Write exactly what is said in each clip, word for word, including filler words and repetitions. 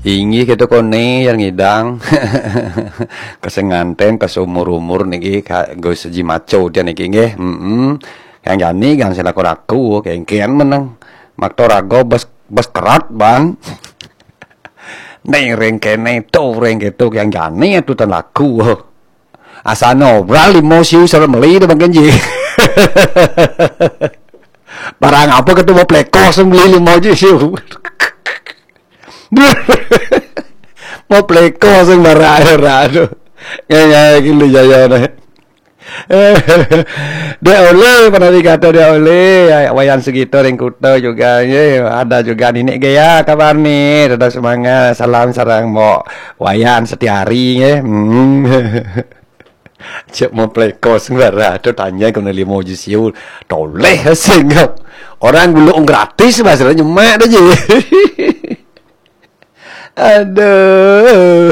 Inggih kéto koné yang ngidang. Ka sing nganten, ka seumur-umur niki, ka, nggo siji maco dia niki nggih. Heeh. Yang jani gang sing laku-laku, kéngkén meneng. Makto rago bes, bes kerat, Bang. Ning ring kéné, to ring kéto, yang jani atutan laku. Asal nobral limo siu sareng meli to Bang Kenji. Barang apa kéto mau plekos meli limo siu. Mau plekos barang air aduh. Ngene iki lho jaya. Dek Ole pernah dikata Dek Ole, ya, Wayan Sugito ring Kuta juga, ya, ada juga Ninik Gea kabar nih, tetap semangat, salam sareng Mbok Wayan Setiari, ya. Hmm. Cek mau plekos bara, tuh tanya kena limo ji siu, toleh sing. Orang gulung gratis, bahasanya nyemak aja. Aduh.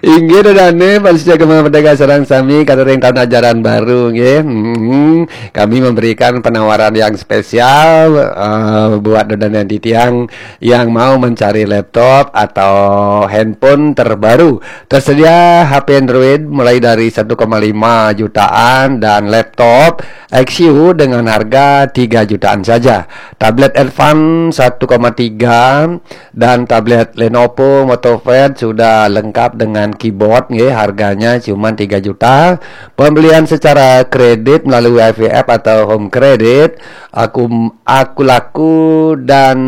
Inggih dodane, panitia Gema Merdeka sareng sami, katuring tahun ajaran baru, nggih. Hmm, kami memberikan penawaran yang spesial, eh, buat dodane titiang yang mau mencari laptop atau handphone terbaru. Tersedia H P Android mulai dari satu koma lima jutaan dan laptop X U dengan harga tiga jutaan saja. Tablet Advan satu koma tiga dan tablet Lenovo MotoPad sudah lengkap dengan keyboard, nggih, harganya cuma tiga juta. Pembelian secara kredit melalui I V F atau Home Credit, Aku, Aku Laku dan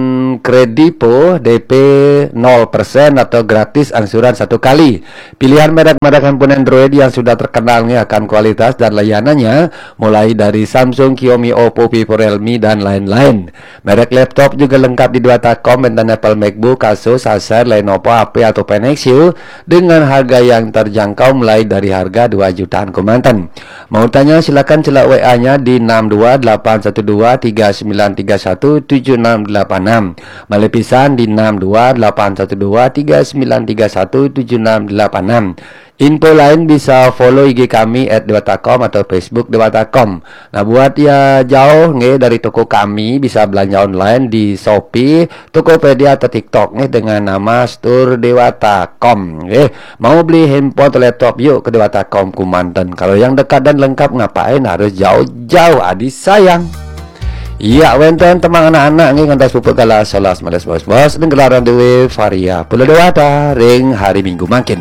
Kredivo, D P nol persen atau gratis angsuran satu kali. Pilihan merek-merek handphone Android yang sudah terkenal, nggih, akan kualitas dan layanannya, mulai dari Samsung, Xiaomi, Oppo, Vivo, Realme, dan lain-lain. Merek laptop juga lengkap di Dewata Kom, enten Apple MacBook, Asus, Acer, Lenovo, H P, atau Pentax, dengan harga yang terjangkau mulai dari harga dua jutaan kemanten. Mau tanya, silakan celak W A-nya di enam dua delapan satu dua tiga sembilan tiga satu tujuh enam delapan enam. Malih pisan di enam dua delapan satu dua tiga sembilan tiga satu tujuh enam delapan enam. Info lain bisa follow I G kami at dewata com atau Facebook Dewata Com. Nah, buat ya jauh, nggih, dari toko kami, bisa belanja online di Shopee, Tokopedia atau TikTok, nggih, dengan nama Store Dewata Com, nggih. Mau beli handphone atau laptop, yuk ke Dewata Com Kumanten. Kalau yang dekat dan lengkap, ngapain harus jauh-jauh, adi sayang. Iya, wénten temang anak-anak, nggih, ngantos pupuk galah solas melas bos-bos, dan gelaran dewe Varia Pulau Dewata ring hari Minggu mangkin.